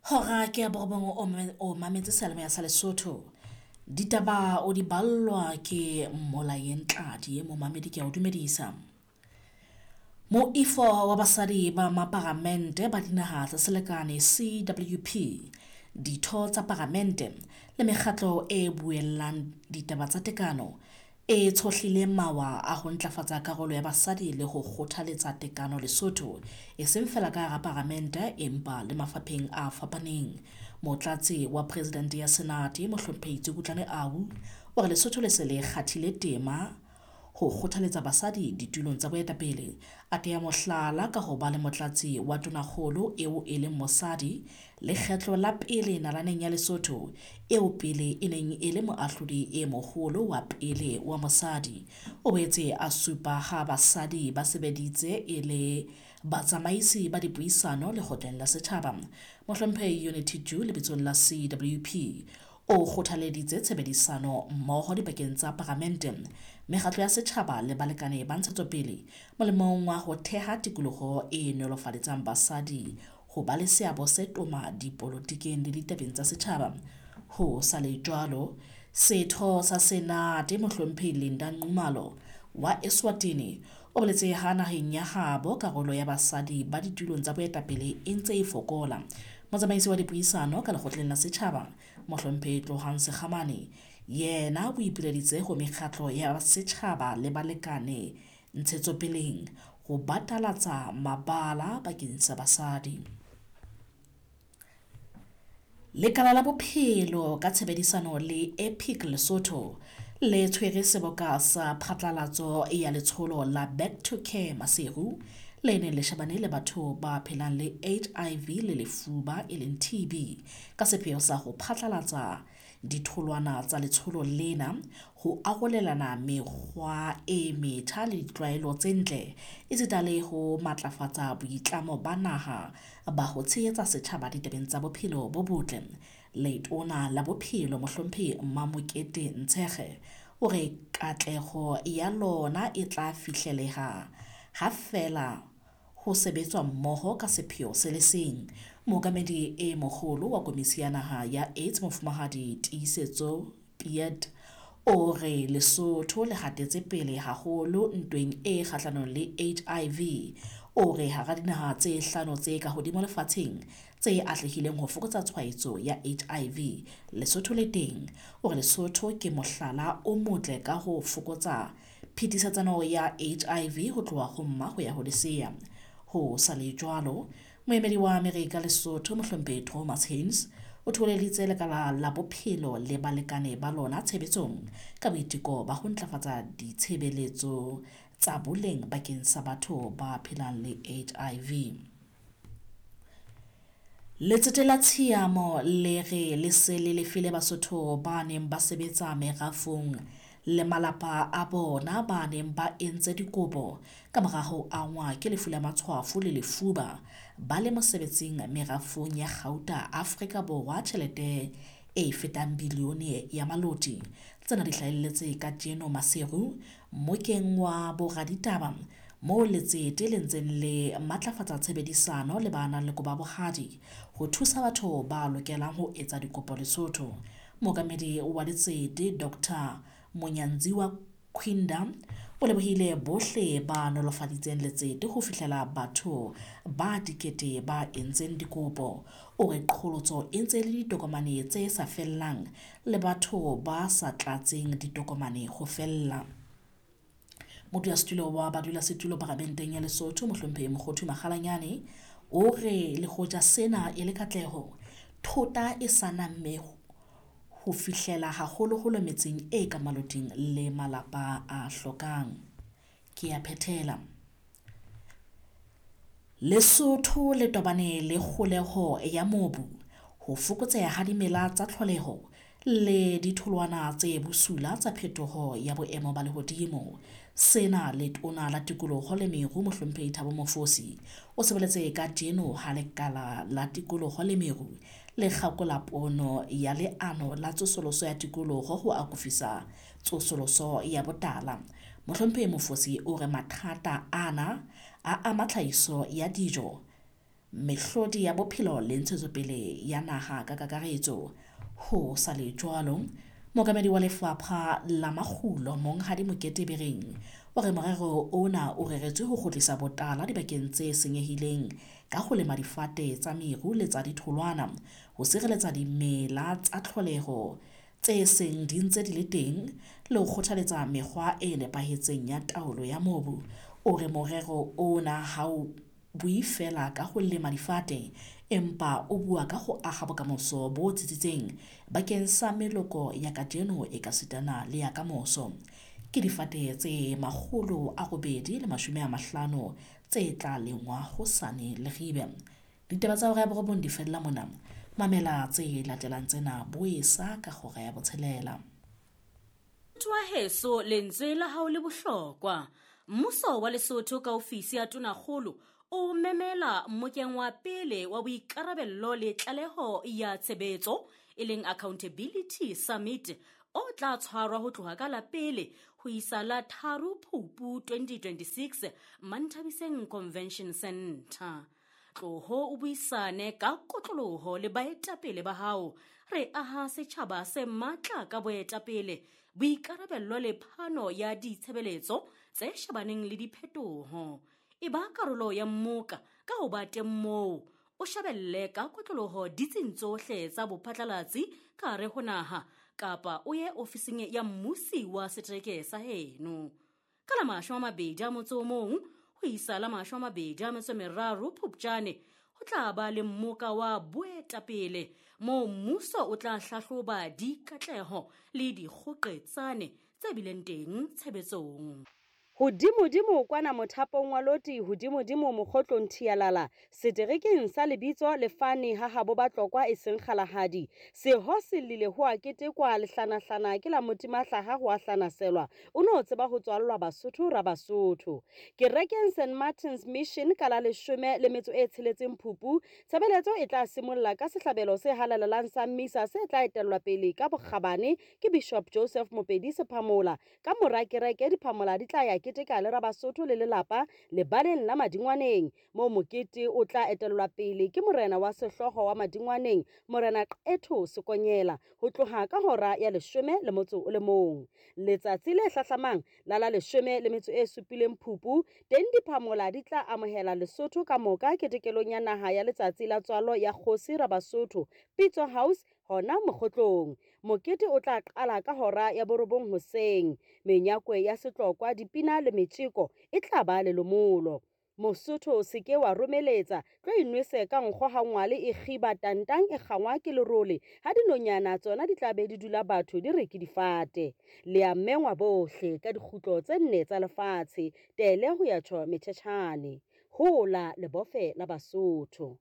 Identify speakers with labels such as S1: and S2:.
S1: Hora ke ya borobong o mametse seyalemoya sa Lesotho. Ditaba o di ballwa ke Mmolayeng Tladi momamedi ke a o dumedisa. Moifo wa basadi ba maparamente ba dinaha tsa selekane CWP, ditho tsa paramente le mekgatlo e buellang ditaba tsa tekano e tshohlile mawa a ho ntlafatsa karolo ya basadi le ho kgothaletsa tekano Lesotho, e seng feela ka hara paramente empa le mafapheng a fapaneng. Motlatsi wa Presidente ya Senate Mohlomphehi Tsukutlane Au o re Lesotho le se le kgathile tema ho kgothaletsa basadi ditulong tsa boetapele. A teya mohlala ka ho ba le motlatsi wa tonakgolo eo e leng mosadi lekgetlo la pele nalaneng ya Lesotho eo pele e neng e le moahlodi e moholo wa pele wa mosadi. O boetse a supa ha basadi ba sebeditse e le batsamaisi ba dipuisano lekgotleng la setjhaba. Mohlomphehi Unity Jew lebitsong la CWP o kgothaleditse tshebedisano mmoho dipakeng tsa paramente, mekgatlo ya setjhaba le balekane ba ntshetsopele molemong wa ho theha tikoloho e nolofaletsang basadi ho ba le seabo se toma dipolotikeng le ditabeng tsa setjhaba. Ho sa le jwalo, setho sa Senate Mohlomphehi Linda Nxumalo wa Eswatini o boletse ha naheng ya habo karolo ya basadi ba ditulong tsa boetapele e ntse e fokola. Motsamaisi wa dipuisano ka lekgotleng la setjhaba Mohlomphehi Tlohang Sekgamane yena o ipileditse ho mekgatlo ya setjhaba le balekane ntshetsopeleng ho batalatsa mabala bakeng sa basadi. Lekala la Bophelo ka tshebedisano le Epic Lesotho le tshwere seboka sa phatlalatso ya letsholo la Back to Care Maseru le neng le shebane le batho ba phelang le HIV le lefuba e leng TB ka sepheo sa ho phatlalatsa ditholwana tsa letsholo lena, ho arolelana mekgwa e metjha le ditlwaelo tse ntle esita le ho matlafatsa boitlamo ba naha ba ho tshehetsa setjhaba ditabeng tsa bophelo bo botle. Letona la Bophelo Mohlomphehi Mamokete Ntshekge o re katleho ya lona e tla fihleleha ha feela ho sebetswa mmoho ka sepheo se le seng. Mookamedi e moholo wa Komisi ya Naha ya AIDS Mofumahadi Tiisetso Piet o re Lesotho le hatetse pele haholo ntweng e kgahlanong le HIV. O re hara dinaha tse hlano tse ka hodimo lefatsheng tse atlehileng ho fokotsa tshwaetso ya HIV, Lesotho le teng. O re Lesotho ke mohlala o motle ka ho fokotsa phetisetsano ya HIV ho tloha ho mma ho ya ho lesea. Ho sa le jwalo, moemedi wa Amerika Lesotho Mohlomphehi Thomas Haynes o thoholeditse lekala la bophelo le balekane ba lona tshebetsong ka boiteko ba ho ntlafatsa ditshebeletso tsa boleng bakeng sa batho ba phelang le HIV. Letsete la Tshiamo le re le se le lefile Basotho ba neng ba sebetsa merafong le malapa a bona ba neng ba entse dikopo ka mora ho angwa ke lefu la matshwafo le lefuba ba le mosebetsing merafong ya kgauta Afrika Borwa tjhelete e fetang bilione ya maloti. Tsena di hlahelletse kajeno Maseru mmokeng wa boraditaba moo letsete le ntseng le matlafatsa tshebedisano le ba nang le koba bohadi ho thusa batho ba lokelang ho etsa dikopo Lesotho. Mookamedi wa letsete Dr. Monyanziwa Quinda o lebohile bohle ba nolofaditseng letsete ho fihlela batho ba dikete ba entseng dikopo. O re qholotso e ntse le ditokomane tse sa fellang le batho ba sa tlatseng ditokomane ho fella. Modulasetulo wa badulasetulo paramenteng ya Lesotho Mohlomphehi Mokhothu Makgalanyane o re le hoja sena e le katleho, thota e sa namme ho fihlela haholoholo metseng e ka maloting le malapa a hlokang. Ke a phethela. Lesotho le tobane le kgoleho ya mobu, ho fokotseha ha dimela tsa tlholeho le ditholwana tse bosula tsa phetoho ya boemo ba lehodimo. Sena letona la tikoloho le meru Mohlomphehi Thabo Mofosi o se boletse kajeno ha lekala la tikoloho le meru le kgakola pono ya leano la tsosoloso ya tikoloho ho akofisa tsosoloso ya botala. Mohlomphehi Mofosi o re mathata ana a ama tlhahiso ya dijo, mehlodi ya bophelo le ntshetsopele ya naha ka kakaretso. Ho sa le jwalo, mookamedi wa lefapha la makgulo Monghadi Mokete Bereng o re morero ona o reretswe ho kgutlisa botala dibakeng tse senyehileng ka ho lema difate tsa meru le tsa ditholwana, ho sireletsa dimela tsa tlholeho tse seng di ntse di le teng le ho kgothaletsa mekgwa e nepahetseng ya taolo ya mobu. O re morero ona ha o bue feela ka ho lema difate, empa o bua ka ho aha bokamoso bo tsitsitseng bakeng sa meloko ya kajeno ekasitana le ya kamoso. Ke difate tse 850 tse tla lengwa hosane Leribe. Ditaba tsa hora ya 9 di fella mona. Mamela tse latelang tsena boesa ka hora ya 6.
S2: Motho wa heso, lentswe la hao le bohlokwa. Mmuso wa Lesotho ka ofisi ya Tonakgolo o memela mmokeng wa pele wa boikarabello le tlaleho ya tshebetso, e leng Accountability Summit, o tla tshwarwa ho tloha ka la 1 ho isa la 3 Phupu 2026 Manthabiseng Convention Center. Tloho o buisane ka kotloloho le baetapele ba hao. Re aha setjhaba se matla ka boetapele, boikarabello le phano ya ditshebeletso tse shebaneng le diphetoho. E ba karolo ya mmoka ka ho ba teng moo, o shebelle ka kotloloho ditsing tsohle tsa bophatlalatsi ka hare ho naha, kapa o ye ofising ya mmusi wa setereke sa heno. Ka la 21 ho isa la 23 Phupjane, ho tla ba le mmoka wa boetapele moo mmuso o tla hlahloba dikatleho le dikgoqetsane tse bileng teng tshebetsong.
S3: Hodimodimo kwana mothapong wa loti, hodimodimo mokgotlong thialala, seterekeng sa lebitso lefane ha habo Batlokwa e seng Kgalagadi. Seho se llile ho a ketekwa, lehlanahlana ke la motimahlaha ho a hlanaselwa, o no tseba ho tswallwa Basotho ra Basotho. Kerekeng St Martin's Mission ka la 16 Phupu, tshebeletso e tla simolla ka sehlabelo se halalelang sa misa se tla etellwa pele ka bokgabane ke Bishop Joseph Mopedi Sephamola. Ka mora kereke diphamola di tla ya keteka le Rabasotho le lelapa lebaleng la Madingwaneng, moo mokete o tla etellwa pele ke morena wa sehlooho wa Madingwaneng, Morena Qetho Sekonyela, ho tloha ka hora ya 11. Letsatsi le hlahlamang la la 17 Phupu, teng diphamola di tla amohela Lesotho ka moka ketekelong ya naha ya letsatsi la tswalo ya kgosi Rabasotho, Pitso House, hona mokgotlong. Mokete o tla qala ka hora ya 9 hoseng. Menyakwe ya setlokwa, dipina le metjeko e tla ba lelomolo. Mosotho o se ke wa romeletsa, tlo inwese ka nkgo ha ngwale e kgiba tantang e kgangwa ke lerole, ha dinonyana tsona di tla be di dula batho di re ke difate. Le a mengwa bohle ka dikgutlo tse 4 tsa lefatshe, tele ho ya tjho metjhetjhane. Hola lebofe la Basotho.